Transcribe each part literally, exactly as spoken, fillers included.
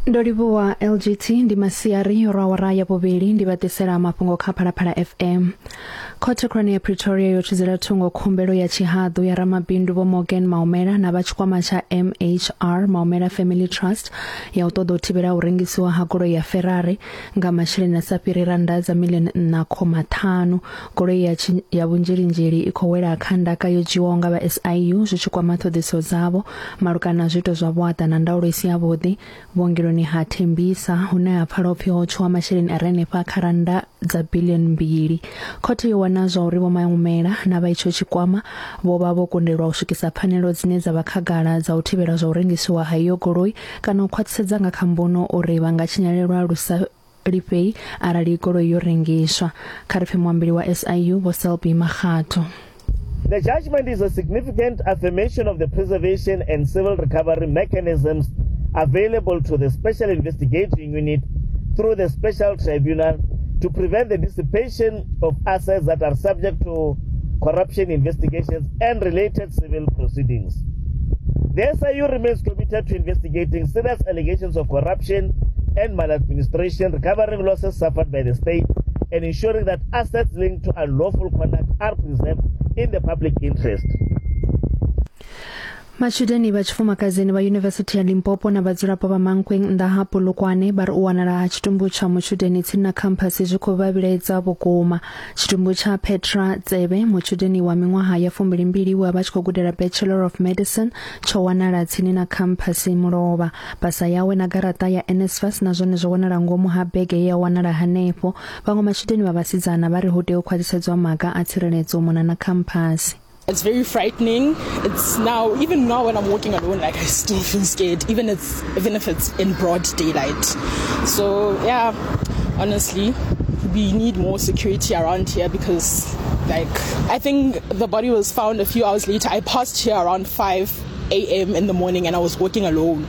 Ndo livhuwa L G T. Ndi masiari ro awara ya vhuvhili ndi vha ḓisela mafhungo kha Phalaphala F M. Khothe khulwane ya Pretoria yo thudzela thungo khumbelo ya tshihaḓu ya ramabindu Vho Morgan Maumela na vha tshikwama tsha M H R Maumela Family Trust ya u ṱoḓa u thivhela u rengisiwa ha goloi ya Ferrari nga masheleni a sa fhiri rannda dza miḽioni nṋa khoma ṱhanu. Goloi ya ya vhunzhelinzheli i khou wela kha ndaka yo dzhiwaho nga vha S I U zwi tshi kwama ṱhoḓisiso dzavho malugana na zwiito zwa vhuaḓa na ndaulo i si yavhuḓi vhuongeloni ha Tembisa hune ha pfala upfi ho tshiwa masheleni a re henefha kha rannda dza biḽioni mbili. Khothe yo wana zwa uri Vho Maumela na vha itsho tshikwama vho vha vho kundelwa u swikisa pfanelo dzine dza vha khagala dza u thivhela zwa u rengisiwa ha iyo goloi kana u khwaṱhisedza nga kha mbuno uri vha nga tshinyalelwa lu sa lifhei arali goloi yo rengiswa. Kha ri pfe muambeli wa S I U Vho Selby Makgatho. The judgment is a significant affirmation of the preservation and civil recovery mechanisms available to the Special Investigating Unit through the Special Tribunal to prevent the dissipation of assets that are subject to corruption investigations and related civil proceedings. The S I U remains committed to investigating serious allegations of corruption and maladministration, recovering losses suffered by the state, and ensuring that assets linked to unlawful conduct are preserved in the public interest. Matshudeni vha tshifumakadzini vha Yunivesithi ya Limpopo na vhadzulapo vha Mankweng nnḓa ha Polokwane vha ri u wanala ha tshitumbu tsha mutshudeni tsini na khamphasi zwi khou vha vhilaedza vhukuma. Tshitumbu tsha Petra Tsebe, mutshudeni wa miṅwaha ya fumbili mbili we a vha tshi khou gudela Bachelor of Medicine, tsho wanala tsini na khamphasi mulovha. Basa yawe na garaṱa ya N S F A S na zwone zwo wanala ngomu ha bege ye ya wanala hanefho. Vhaṅwe matshudeni vha vhasidzana vha ri hu tea u khwaṱhisedzwa maga a tsireledzo mona na khamphasi. It's very frightening. It's now, even now when I'm walking alone, like I still feel scared, even it's even if it's in broad daylight. So yeah, honestly, we need more security around here because, like, I think the body was found a few hours later. I passed here around five A M in the morning and I was walking alone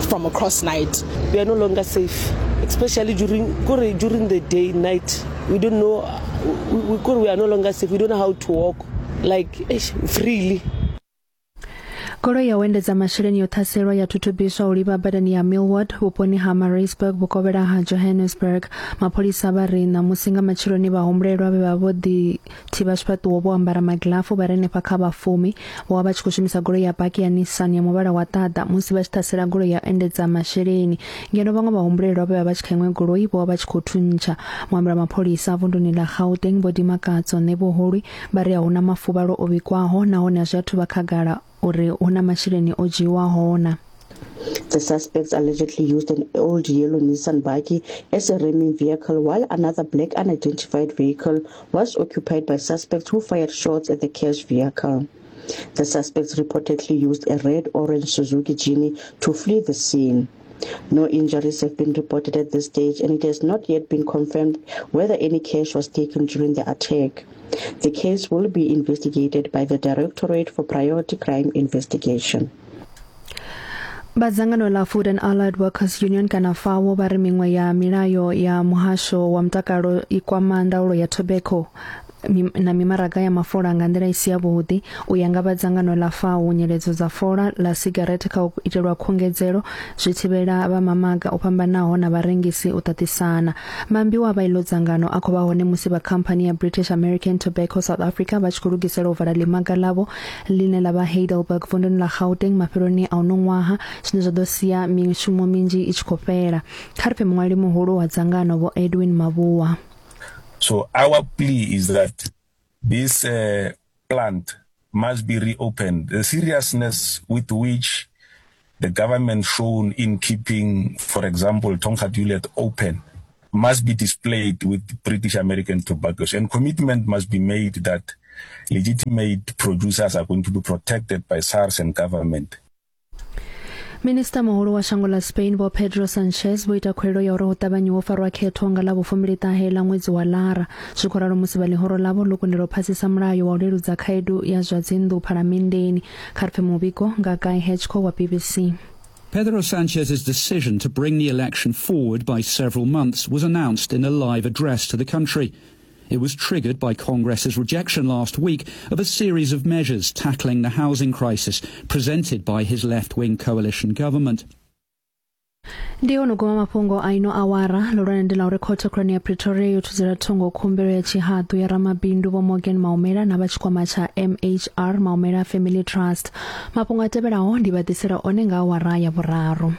from across night. We are no longer safe, especially during during the day, night. We don't know, we, we, we are no longer safe. We don't know how to walk. Like freely. Goloi ya u endedza masheleni yo ṱhaselwa ya thuthubiswa u livha badani ya Millward vhuponi ha Maritzburg vhukovhela ha Johannesburg. Mapholisa vha ri ṋamusi nga matsheloni vhahumbulelwa vhe vha vho ḓi thivha zwifhaṱuwo vho ambara magilafu vha re henefha kha vhafumi vho vha vha tshi khou shumisa goloi ya baki ya Nissan ya muvhala wa ṱaḓa musi vha tshi ṱhasela goloi ya endedza masheleni, ngeno vhaṅwe vhahumbulelwa vhe vha vha tshi kha iṅwe goloi vho vha vha tshi khou thuntsha. Muambeli wa mapholisa vunduni ḽa Gauteng Vho Dimakatso Ṋevhuhulwi vha ri a huna mafuvhalo o vhikwaho nahone a zwi athu vha khagala uri huna masheleni o dzhiwaho na. The suspects allegedly used an old yellow Nissan bakkie as a ramming vehicle, while another black unidentified vehicle was occupied by suspects who fired shots at the cash vehicle. The suspects reportedly used a red-orange Suzuki Jimny to flee the scene. No injuries have been reported at this stage, and it has not yet been confirmed whether any cash was taken during the attack. The case will be investigated by the Directorate for Priority Crime Investigation. Vha dzangano ḽa Food and Allied Workers Union kana FAWO vha ri miṅwe ya milayo ya muhasho wa mutakalo i kwama ndaulo ya tobacco na mimaraga ya mafola nga nḓila i si yavhuḓi. U ya nga vha dzangano ḽa FAWO, nyeledzo dza fola ḽa sigarethe kha u itelwa khungedzelo zwi thivhela vha mamaga o fhambanaho na vharengisi u ṱaṱisana. Maambiwa vha iḽo dzangano a khou vha hone musi vha khamphani ya British American Tobacco South Africa vha tshi khou lugisela u vala ḽimaga ḽavho ḽine ḽa vha Heidelberg vunduni ḽa Gauteng mafheloni a uno ṅwaha, zwine zwa ḓo sia mishumo minzhi i tshi khou fhela. Kha ri pfe muṅwali muhulu wa dzangano Vho Edwin Mavhua. So our plea is that this uh, plant must be reopened. The seriousness with which the government shown in keeping, for example, Tongaat Hulett open must be displayed with British American Tobacco. And commitment must be made that legitimate producers are going to be protected by SARS and government. Minista muhulu wa shango ḽa Spain Vho Pedro Sanchez vho ita khuwelelo ya uri hu ṱavhanyiwe u farwa khetho nga ḽa vhufumbili ṱahe ḽa ṅwedzi wa Lara. Zwi khou ralo musi vha ḽihoro ḽavho ḽo kundelwa u phasisa mulayo wa u leludza khaedu ya zwa dzinnḓu phalamenndeni. Kha ri pfe muvhigo nga Guy Hedgecoe wa B B C. Pedro Sanchez's decision to bring the election forward by several months was announced in a live address to the country. It was triggered by Congress's rejection last week of a series of measures tackling the housing crisis presented by his left-wing coalition government. Ndi ono guma mafhungo a ino awara. Ḽihulwane ndi ḽa uri khothe khulwane ya Pretoria yo thudzela thungo khumbelo ya tshihaḓu ya ramabindu Vho Morgan Maumela na vha tshikwama tsha M H R Maumela Family Trust. Mafhungo a tevhelaho ndi vha ḓisela one nga awara ya vhuraru.